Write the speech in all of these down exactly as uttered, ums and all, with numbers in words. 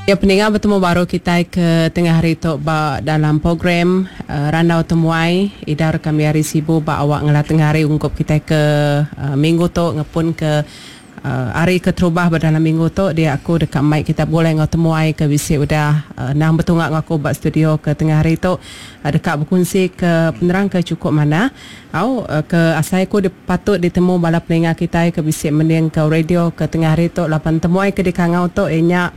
Ya peninga betemu baru kitai ke tengah hari tu ba dalam program uh, Randau Temuai idar kami hari Sibu ba awak ngelah tengah hari ungkup kitai ke uh, minggu tu ngepun ke uh, hari keterubah ba dalam minggu tu dia aku deka mai kita boleh ngau temuai ke bisi udah uh, nang betungak ngau aku ba studio ke tengah hari tu uh, deka berkongsi ke penerang ke cukup mana au uh, ke asai aku patut ditemu bala peninga kitai ke bisi mending ke radio ke tengah hari tu lapan temuai ke dikangau tu ianya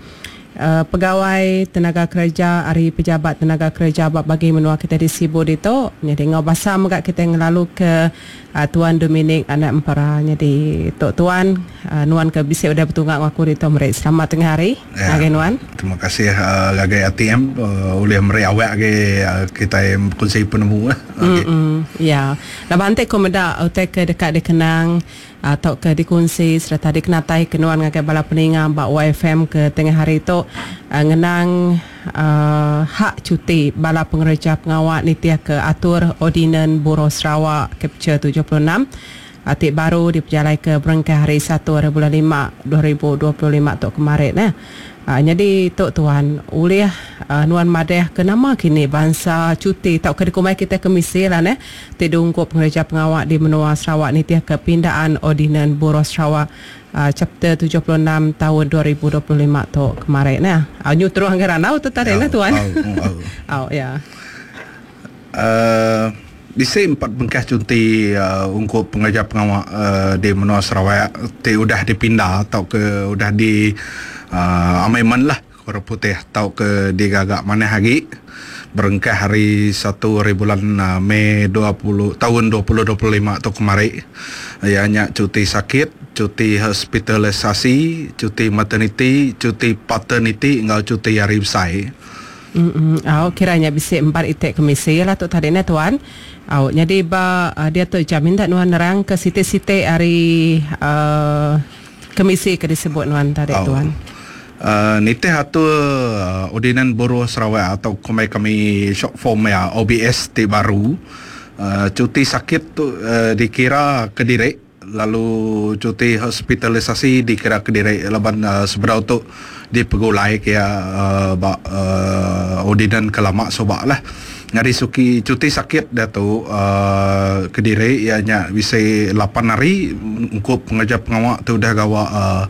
Uh, pegawai tenaga kerja hari pejabat tenaga kerja bab bagi menua kita di Sibu ditu. Jadi ngau basa mega kita ngelalu ke uh, Tuan Dominic anak Empera. Jadi tok tuan uh, nuan ke bisi udah betungak aku ditu meri selamat tengah hari ya. Ngagai nuan. Terima kasih uh, ngagai A T M uh, oleh meri awak ke uh, kita kongsi penemu lah. Okay. Mm-mm. Ya. Laban te ko meda utai ke dekat dikenang atau ke dikongsi serta dikenatai ke nuan ngagai bala peninga ba Y F M ke tengah hari tu uh, ngenang uh, hak cuti bala pengereja pengawak nitiah ke atur Ordinan Buruh Sarawak Capture tujuh puluh enam atik baru diperjalai ke berengkah hari satu hari bulan lima dua ribu dua puluh lima tu kemarin eh. Uh, jadi tok tuan ulih uh, nuan madeh ke nama kini bangsa cuti tau ke dikumai kita kemisi lah neh ti diungkup pengereja pengawak di menua Sarawak nitiah ke pindaan Ordinan Buruh Sarawak uh, chapter tujuh puluh enam tahun dua ribu dua puluh lima tu kemarin neh. Uh, nyu terus anggaran tau tu tadi neh tuan. Au au ya. Uh, bisi empat bengkah cuti uh, ungkup pengereja pengawak uh, di menua Sarawak ti udah dipindah atau ke udah di Uh, amendment lah kurang putih atau ke digagak mana hari berengkah hari satu hari bulan uh, Mei dua puluh tahun dua ribu dua puluh lima tu kemari ianya cuti sakit, cuti hospitalisasi, cuti maternity, cuti paternity enggau cuti hari besar. Mm-mm. Oh, kiranya bisi empat itik komisi lah tu tadi ne tuan. Oh, jadi ba uh, dia tu jamin tak nuan nerang ke siti-siti hari uh, komisi ke disebut nuan tadi oh. Tuan. Uh, nitih atur uh, Ordinan Buruh Sarawak atau kami kami short form ya O B S ti baru uh, cuti sakit tu uh, dikira kediri lalu cuti hospitalisasi dikira kediri laban uh, seberau tu dipegulai ke uh, ba, uh, ordinan kelama sobak lah. Ngari suki cuti sakit dah tu uh, kediri ianya bisa lapan hari ungkup pengereja pengawak tu dah gawak uh,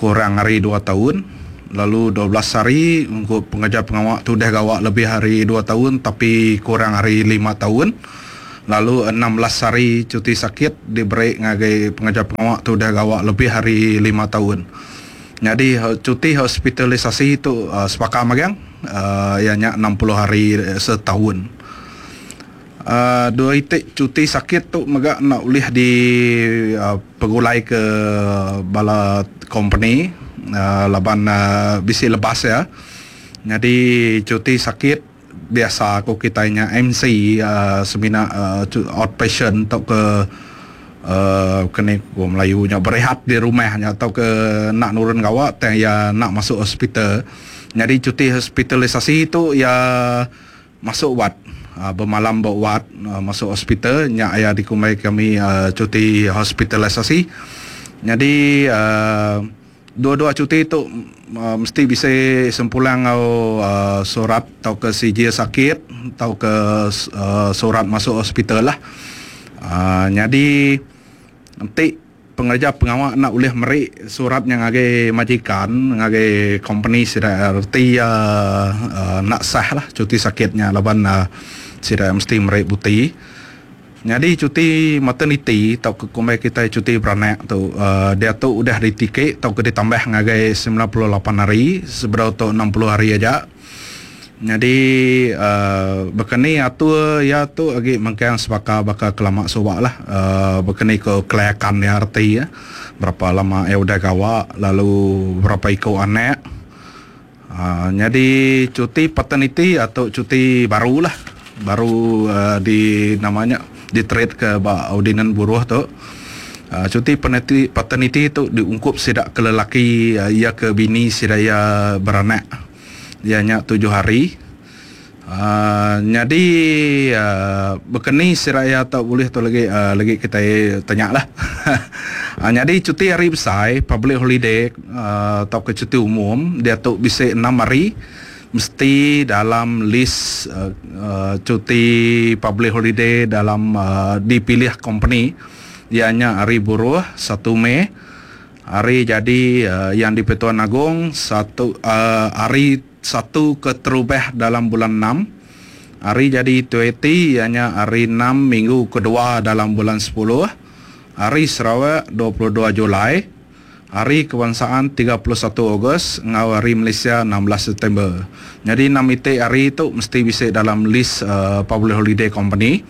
kurang hari dua tahun, lalu dua belas hari untuk pengereja pengawak tu dah gawak lebih hari dua tahun tapi kurang hari lima tahun, lalu enam belas hari cuti sakit diberi ngagai pengereja pengawak tu dah gawak lebih hari lima tahun. Jadi cuti hospitalisasi tu uh, sepakat magang uh, ianya enam puluh hari setahun. Uh, dua itik cuti sakit tu megak nak ulih di uh, pegulai ke bala company uh, laban uh, bisi lebas ya. Jadi cuti sakit biasa aku kitanya M C uh, semina uh, outpatient atau ke uh, kene ko Melayu nya berehat di rumahnya atau ke nak nurun gawak tang ya nak masuk hospital. Jadi cuti hospitalisasi tu ya masuk wad. Uh, bermalam buat uh, masuk hospital nyak ya dikumai kami uh, cuti hospitalisasi. Jadi uh, dua-dua cuti tu uh, mesti bisa sempulang au uh, surat atau ke C J sakit atau ke uh, surat masuk hospital lah. Uh, jadi nanti pengerja pengawak nak boleh meri surat yang ngagai majikan ngagai company sida erti uh, uh, nak sah lah cuti sakitnya laban uh, sida mesti meri buti. Jadi cuti maternity atau ke kumai kita cuti beranak tu uh, dia tu udah ditikik atau ke ditambah ngagai sembilan puluh lapan hari seberapa tu enam puluh hari aja. Jadi uh, berkeni atur ya tu lagi mengkang sebaka bakal kelamak sobak lah uh, berkeni ke kelayakan ya arti ya berapa lama ya udah gawak lalu berapa ikut anak. Uh, jadi cuti paternity atau cuti baru lah baru uh, di namanya di trade ke ba ordinan buruh tu. Uh, cuti paternity, paternity tu diungkup sidak ke lelaki uh, ia ke bini sidaya beranak. Ianya tujuh hari. Uh, jadi uh, berkeni siraya tak boleh tu lagi uh, lagi kita tanya lah. uh, jadi cuti hari besar public holiday uh, atau ke cuti umum dia tu bisa enam hari mesti dalam list uh, uh, cuti public holiday dalam uh, dipilih company ianya hari buruh satu Mei, hari jadi uh, yang di Pertuan Agong satu uh, hari satu keterubah dalam bulan enam, hari jadi Tueti ianya hari enam minggu kedua dalam bulan sepuluh, hari Sarawak dua puluh dua Julai, hari kebangsaan tiga puluh satu Ogos, ngau hari Malaysia enam belas September. Jadi enam itik hari tu mesti bisa dalam list uh, public holiday company.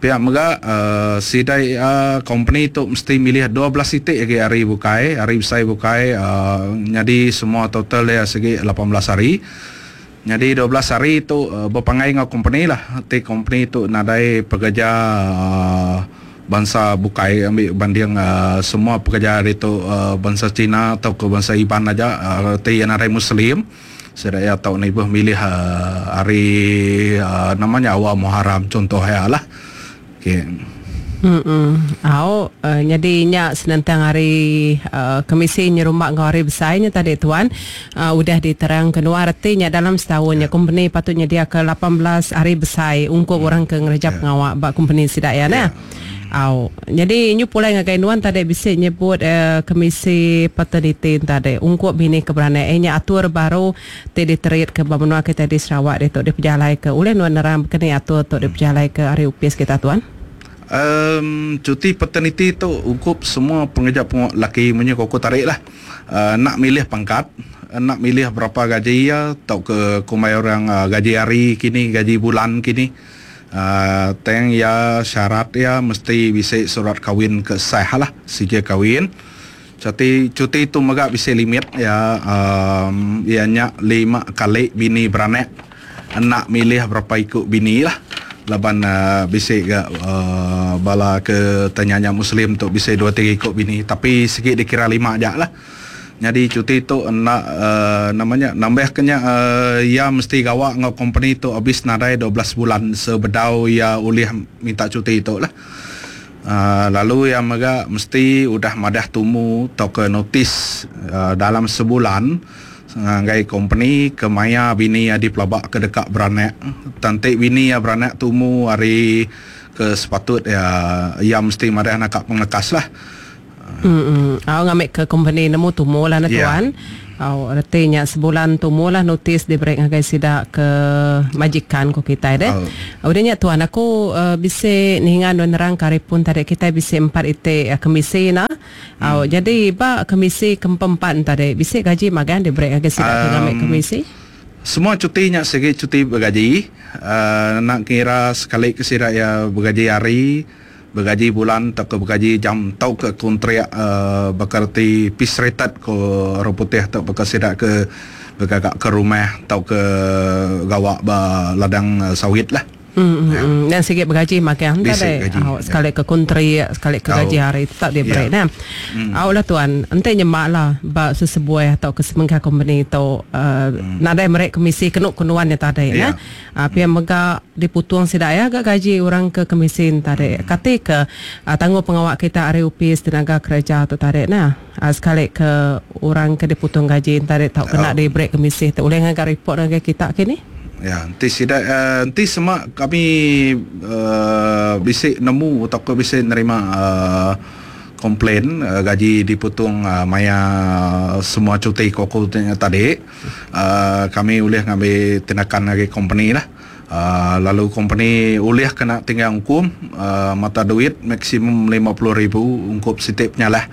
Pihak mega uh, sidai uh, company tu mesti milih dua belas itik lagi hari bukai, hari besar bukai, uh, jadi semua total dia segi lapan belas hari. Jadi dua belas hari tu uh, berpangai ngau company lah. Ti company tu nadai pekerja uh, bangsa bukai ambil banding uh, semua pekerja hari tu uh, bangsa Cina atau ke bangsa Iban aja, uh, ti nadai Muslim. Sedaya tau ni buh milih uh, hari uh, namanya awal Muharram contohnya lah. Okay. Hmm. Au uh, jadi nya senentang hari uh, komisi nyerumak ngau hari besarnya tadi tuan uh, udah diterang keluar artinya dalam setahunnya yeah. Company patutnya dia ke lapan belas hari besar ungkup hmm. orang ke ngerja yeah. pengawak bak company sidak ya nah. Yeah. Au jadi nyu pulai ngagai nuan tadi bisa nyebut uh, komisi paternity tadi ungkup bini keberanian eh nya atur baru ti diterit ke benua kita di Sarawak dia tok dipejalai ke oleh nuan nerang kena atur tok dipejalai ke hari upis kita tuan. Um, cuti paternity tu ungkup semua pengejar pengawak laki punya koko tarik lah. Uh, nak milih pangkat, nak milih berapa gaji ya atau ke kumai orang uh, gaji hari kini, gaji bulan kini. Uh, teng ya syarat ya mesti bisa surat kawin ke sah lah sijil kawin. Cuti cuti tu megak bisa limit ya um, ianya lima kali bini beranak nak milih berapa ikut bini lah. Laban uh, bisa ke uh, bala ke tanyanya muslim tu bisa dua tiga ikut bini tapi sikit dikira lima aja lah. Jadi cuti tu nak uh, namanya nambah kenya uh, ya mesti gawak ngau company tu habis nadai dua belas bulan sebedau ya ulih minta cuti tu lah. Uh, lalu yang mega mesti udah madah tumu atau ke notis uh, dalam sebulan ngai company ke maya bini ya dipelabak ke dekat beranak. Tantik bini ya beranak tumu hari ke sepatut ya ya mesti madah nak pengekas lah. Hmm. Au ngambil ke company nemu tumu lah na tuan. Yeah. Au artinya sebulan tumu lah notis diberi ngagai sidak ke majikan ko kita deh. Oh. Udahnya tuan aku uh, bisa ningan nerang karipun tadi kita bisa empat ite uh, komisi na. Hmm. Au jadi ba komisi keempat tadi bisa gaji magan diberi ngagai sidak um, ke ngambil komisi. Semua cutinya segi cuti bergaji. Uh, nak kira sekali ke sidak ya bergaji hari, bergaji bulan atau ke bergaji jam atau ke kontrak uh, berkerti piece rated ke orang putih atau berkesidak ke bergagak ke rumah atau ke gawak ba ladang uh, sawit lah. Hmm, ya. Dan sikit bergaji makan tadi. Oh, sekali ke kontri, sekali ke gaji hari tak dia beri nah. Hmm. Awak lah tuan, ente nyemak lah ba sesebuah atau ke semengkah company tu uh, hmm. nadai merek komisi kenuk kenuan ya tadi nah. Uh, pihak mega diputung sidak ya agak gaji orang ke komisi tadi. Hmm. Kate ke uh, tangguh pengawak kita R U P tenaga kerja tu tadi nah. Uh, sekali ke orang ke diputung gaji tadi tak kena oh. di break komisi tu. Boleh ngagak report dengan kita kini? Ya, nanti sida uh, nanti semua kami uh, bisa nemu atau ke bisa nerima uh, komplain uh, gaji diputung uh, maya semua cuti koko tadi. Uh, kami boleh ngambil tindakan dari company lah. Uh, lalu company boleh kena tinggal hukum uh, mata duit maksimum lima puluh ribu ungkup setiap penyalah.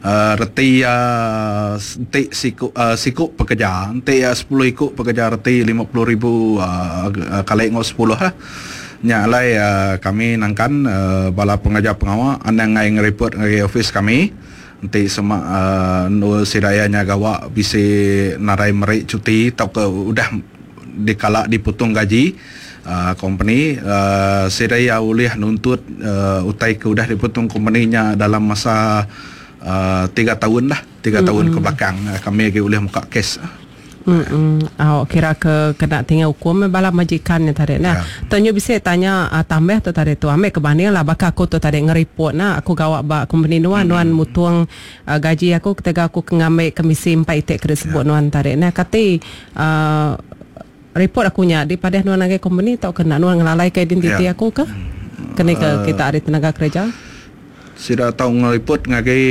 Uh, reti uh, entik siku uh, siku pekerja entik uh, sepuluh ikut pekerja reti lima puluh ribu uh, uh, kali ngau sepuluh lah. Nya alai uh, kami nangkan uh, bala pengajar pengawak andang ngai ngereport ngagai office kami entik semak uh, nur sidayanya gawak bisa narai merik cuti atau ke udah dikalak dipotong gaji uh, company uh, sidaya boleh nuntut uh, utai ke udah dipotong company-nya dalam masa Uh, tiga tahun lah, tiga mm-hmm. tahun ke belakang uh, kami lagi boleh buka kes. Hmm. Oh, kira ke kena tinggal hukum bala majikan yang tadi nah. Yeah. Tonyo bisa tanya uh, tambah tu tadi tu ambil kebanding lah bakal aku tu tadi ngeripot nah aku gawak ba company nuan hmm. nuan mutung uh, gaji aku ketika aku ngambil komisi empat itik kena sebut yeah. nuan tadi nah kati uh, report aku nya di padah nuan ngagai company tau kena nuan ngelalai ke identiti yeah. aku ke kena ke uh, kita ada tenaga kerja. Sida tau ngeripot ngagai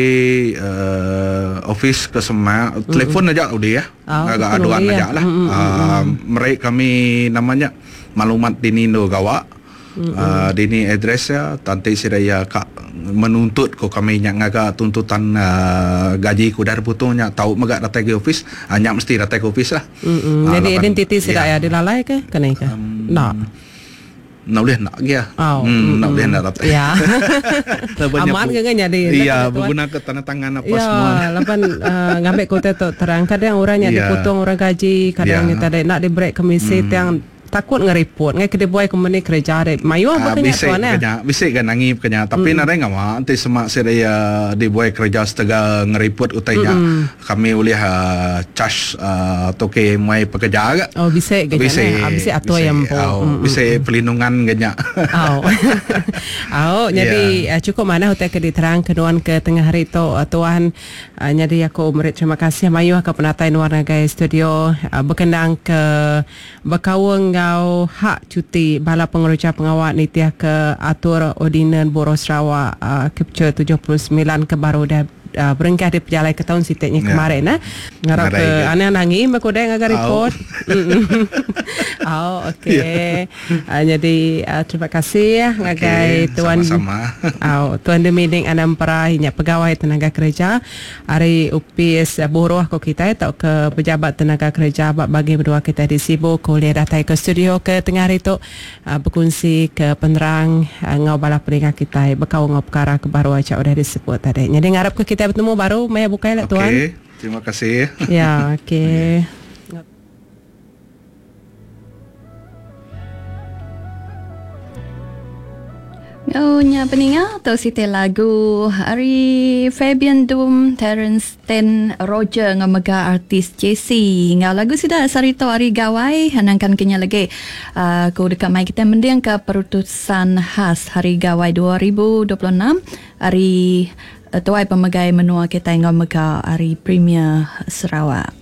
uh, office ke semak mm-hmm. telefon aja udah ya. Oh, agak aduan aja lah. Mm-hmm. Uh, mereka kami namanya maklumat dini do gawak. Mm-hmm. Uh, dini address ya tanti sida ya kak menuntut ko kami nyak ngaga tuntutan uh, gaji ku dar putungnya tau megak datang ke office hanya mesti datang ke office lah. Mm-hmm. Uh, Jadi identiti sida ya dilalai ke kena ke? Um, nak. Nak boleh nak ya. Oh, hmm, nak boleh nak dapat. Ya. Aman ke kan jadi. Iya, berguna ke tanda tangan apa ya, semua. Ya, lapan uh, ngambil kota tu terang kadang orangnya ya. Dipotong orang gaji, kadang ya. Tadi nak diberi komisi hmm. yang takut ngeripot ngai kede boy company kerja dek mayu apa kena tuan ya bisik kan nangi kena tapi mm. nadai ngama nanti semak saya di boy kerja setega ngeripot utainya mm. kami boleh uh, charge uh, toke mai pekerja agak oh bisik ke ah bisik atau yang po oh, bisik perlindungan kena oh oh jadi yeah. Cukup mana utai ke diterang kenuan ke tengah hari tu uh, tuan uh, jadi aku merik terima kasih mayu ke penatai nuan ngagai studio uh, berkenang ke berkawang ngau hak cuti bala pengeruca pengawal nitiah ke atur Ordinan Buruh Sarawak uh, Capture tujuh puluh sembilan ke baru dah uh, berengkah di pejalai ke tahun sitiknya ya. Kemarin nah. Ngarap ke aneh nangi makodai ngaga report. Oh okey. Yeah. Uh, jadi uh, terima kasih ya ngagai okay, tuan sama-sama. Oh, tuan Dominic Anampera nya pegawai tenaga kerja hari U P S Buruh ko kita atau ke pejabat tenaga kerja bagi berdua kita di Sibu kuliah datang ke studio ke tengah hari tu uh, berkongsi ke penerang uh, ngau bala peringkat kita bekau ngau perkara ke baru aja udah disebut tadi. Jadi ngarap ke kita bertemu baru maya bukai lah tuan. Okey, terima kasih. Ya, okey. Oh, nya peninga atau siti lagu hari Fabian Doom, Terence Ten Roger ngau mega artis J C. Ngau lagu sida sarito hari gawai hanangkan kenya lagi. Uh, ku dekat mai kita mending ke perutusan khas hari gawai dua ribu dua puluh enam hari Tuai Pemegai Menua kita ngau mega hari Premier Sarawak.